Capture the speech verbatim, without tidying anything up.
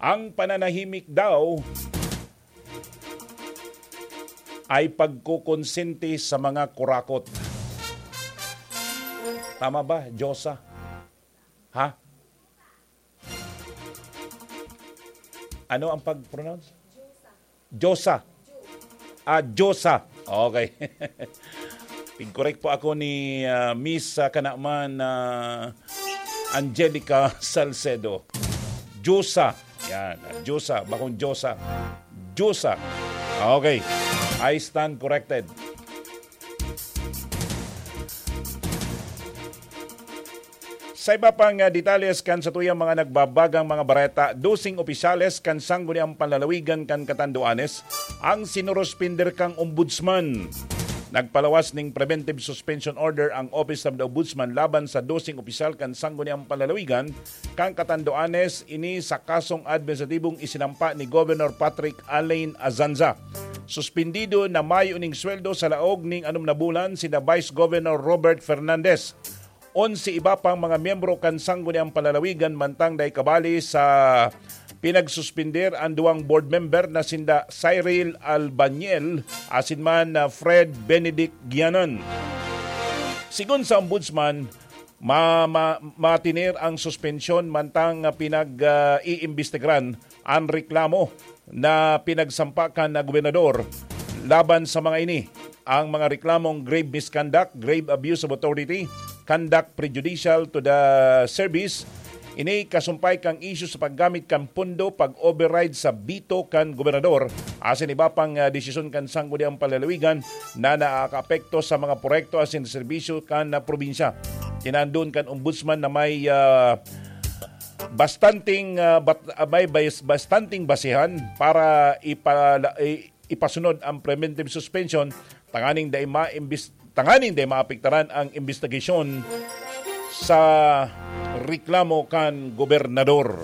Ang pananahimik daw ay pagkukonsente sa mga kurakot. Tama ba, Diyosa? Ha? Ano ang pag-pronounce? Diyosa. Ah, Diyosa. Okay. Pig-correct po ako ni, ah, Miss, ah, Kanaman, ah, Angelica Salcedo. Diyosa. Yan, ah, Diyosa. Bakong Diyosa. Diyosa. Okay. I stand corrected. Sa iba pang, ah, detalles kan satuyang mga nagbabagang mga bareta, doseng opisyales kan Sangguniang Panlalawigan kan Catanduanes ang sinuruspinder kang ombudsman. Nagpalawas ning preventive suspension order ang Office of the Ombudsman laban sa doseng opisyal kan Sangguniang Panlalawigan kan Catanduanes, ini sa kasong administratibong isinampa ni Governor Patrick Alain Azanza. Suspindido na mayo ning sweldo sa laog ning anom na bulan sina Vice Governor Robert Fernandez. Onse iba pang mga miyembro kan Sangguniang Panlalawigan mantang dai kabali sa pinagsuspender an duwang board member na sinda Cyril Albaniel asin man na Fred Benedict Gianan. Sigon sa ombudsman, ma-, ma-, matiner ang suspensyon mantang, ah, pinag, ah, iimbestigaran an reklamo na pinagsampa kan gobernador laban sa mga ini. Ang mga reklamong grave misconduct, grave abuse of authority, conduct prejudicial to the service, ini kasumpay kan isyu sa paggamit kan pondo, pag-override sa bito kan gobernador, asin iba pang, ah, desisyon kan Sangguniang Panlalawigan na nakaapekto sa mga proyekto asin serbisyo kan, ah, probinsya. Tinandon kan ombudsman na may, ah, bastanteng, ah, bat-, ah, may bas-, bastanteng basehan para ipala-, i-, ipasunod ang preventive suspension tanganing dai maimbis-, tanganing dai maapektaran ang imbestigasyon sa reklamo kan gobernador.